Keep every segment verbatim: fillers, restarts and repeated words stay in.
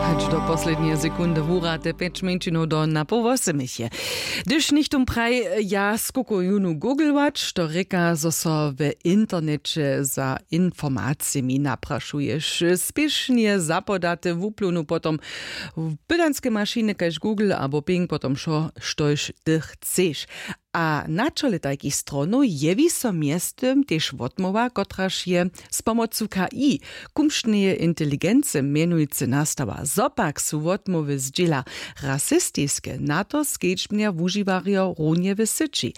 Hač do poslednje sekundy wura te pjeć mjeńšinow do na poł wosymich je. Hdyž nichtó praj, ja skukujunu googlować, to rěka zo so w interneće za informacijemi naprašuješ, spěšnje zapodate wupluwnu potom w pydanske mašiny kaž google abo ping potom wšo, štož ty chceš. A na čole tajkich stronow jewi so mjeztym tež wotmołwa kotraž je z pomocu k i kumšneje inteligency mjenujcy nastała. Zo pak su wotmołwy zdźěla rasistiske, na to skedźbnja wužiwarjo runje w syći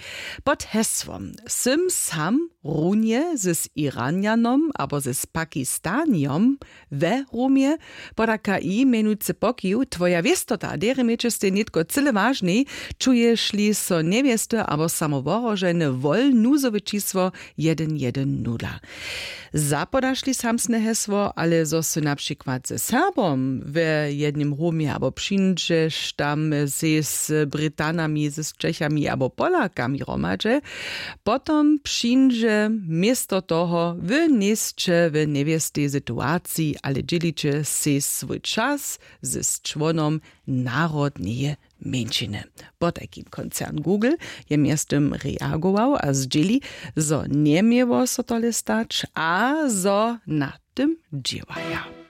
pod hesłom sym sam runje z iranjanom abo z pakistanjom we rumje. Poda k i mjenujcy pokiw twoja wěstota derje měće stej nětko cyle wažnej. Čuješ-li so njewěsty abo samowohroženy wol nuzowe čisło jedyn jedyn nula. Zapodaš-li samsne hesło ale zo sy na přikład ze serbom w jednym rumje abo přińdźeš tam sej z britanami z čechami abo polakami hromadźe, potom přińdźe město toho w njejsće w njewěstej situaciji ale dźěliće sej swój čas z čłonom narodneje mjeńšiny. Potajkim koncern google je mjeztym reagował a zdźěli, zo njeměło so tole stać a zo na tym dźěłaja.